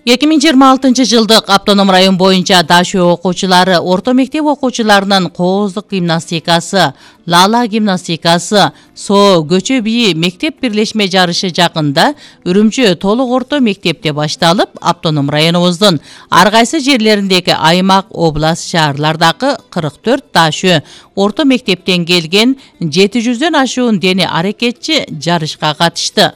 2026-жылдык автоном район боюнча Дашөө окуучулары орто мектеп окуучуларынын кооздук гимнастикасы, лала гимнастикасы, соо көчө бийи мектеп бирлешме жарышы жакында Үрүмчү толук орто мектепте башталып, автоном районубуздун ар кайсы жерлериндеги аймак, область, шаарлардагы 44 Дашөө орто мектептен келген 700дөн ашуун дене аракетчи жарышка катышты.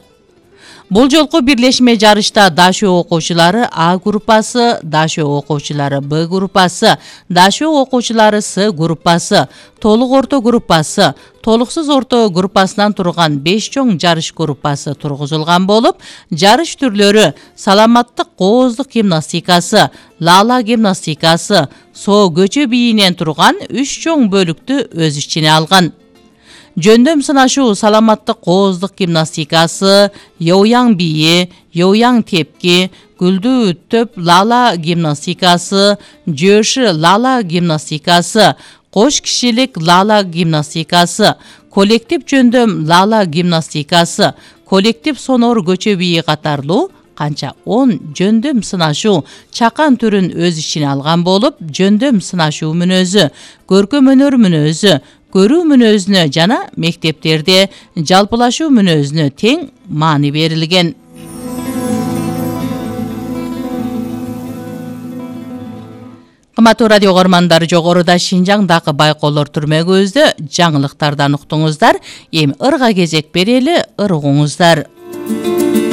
Бул жолку бирлешме жарышта Дашөө окуучулары А группасы, Дашөө окуучулары Б группасы, Дашөө окуучулары С группасы, толук орто группасы, толуксуз орто группасынан турган 5 чоң жарыш группасы тургузулган болуп, жарыш түрлөрү саламаттык кооздук гимнастикасы, лала гимнастикасы, соо көчө бийинен турган 3 чоң бөлүктү өз ичине алган. Жөндөм сынашуу саламаттык кооздук гимнастикасы, йоуяң бийи, йоуяң тепки, гүлдүү төп лала гимнастикасы, жөөшү лала гимнастикасы, кош кишилик лала гимнастикасы, коллектив жөндөм лала гимнастикасы, коллектив сонор көчө бийи катарлуу канча 10 жөндөм сынашуу чакан түрүн өз ичине алган болуп, жөндөм сынашуу мүнөзү, көркөм өнөр мүнөзү, көрүү мүнөзүнө жана мектептерде жалпылашуу мүнөзүнө тең маани берилген. Кымбаттуу радио көрөрмандар, жогоруда Шинжаңдагы байкоолор түрмөгүбүздө жаңылыктардан уктуңуздар. Эми ырга кезек берели, ыр угуңуздар.